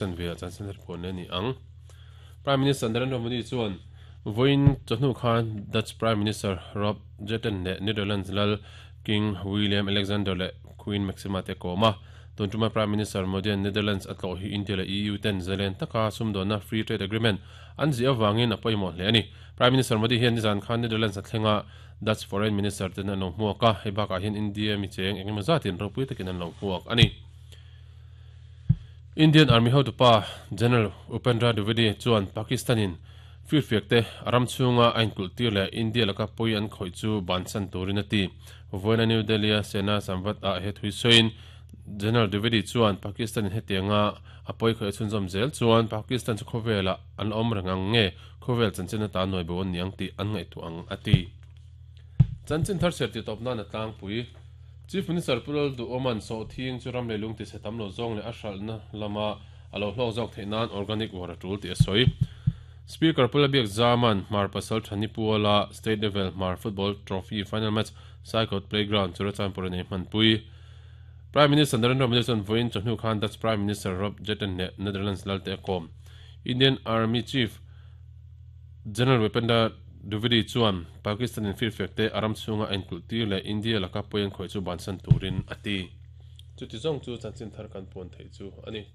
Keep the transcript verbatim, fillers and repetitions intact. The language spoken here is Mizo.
Chanve ah chanchin thar puan a ni ang. Prime Minister Narendra Modi chuan vawiin chawhnu khan Dutch Prime Minister Rob Jetten leh Netherlands lal King William Alexander leh Queen Maxima te kawm a. Tun tuma Prime Minister Modi-a'n Netherlands a tlawh hi India leh E U ten zalen taka sumdawnna Free Trade Agreement an ziah avangin a pawimawh hle a ni. Prime Minister Modi hian nizan khan Netherlands a thleng a, Dutch Foreign Minister ten an lo hmuak a, hei bakah hian India mi cheng engemaw zatin ropui takin an lo hmuak a ni. Indian Army hotupa General Upendra Dwivedi chuan Pakistan-in firfiak te a ram chhunga a inkulh tir leh India laka pawi an khawih chu bansan turin a ti. Vawiina New Delhi-a Sena Samvad ah he thui sawiin General Dwivedi chuan Pakistan-in hetianga a pawi khawih a chhunzawm zel chuan Pakistan chu khawvelah an la awm reng ang nge khawvel chanchin atan nawi bo an ni ang tih an ngaihtuah ang a ti. Chanchin thar chhiar tih tawp nan a tlangpui. Chief Minister Pu Lalduhawma'n sawhthing chu ram leh lung tichhe tam lo zawng leh a hralhna lama a lo hlawk zawk theih nan organic war a tul tih a sawi. Speaker Pu Labiak Zaman Hmar Pasal Thani Puala State Level Hmar Football Trophy Final Match Saikot Playground Churachandpur a nei hmanpui. Prime Minister Narendra Modi chuan vawiin chawhnu khan Dutch Prime Minister Rob Jetten leh Netherlands lalte a kawm. Indian Army Chief General Upendra Dwivedi chuan Pakistan in firfiak te a ram chhunga a inkulh tir leh India laka pawi an khawih chu bansan turin a ti. Chuti zawng chu chanchin thar kan puan theih chu a ni.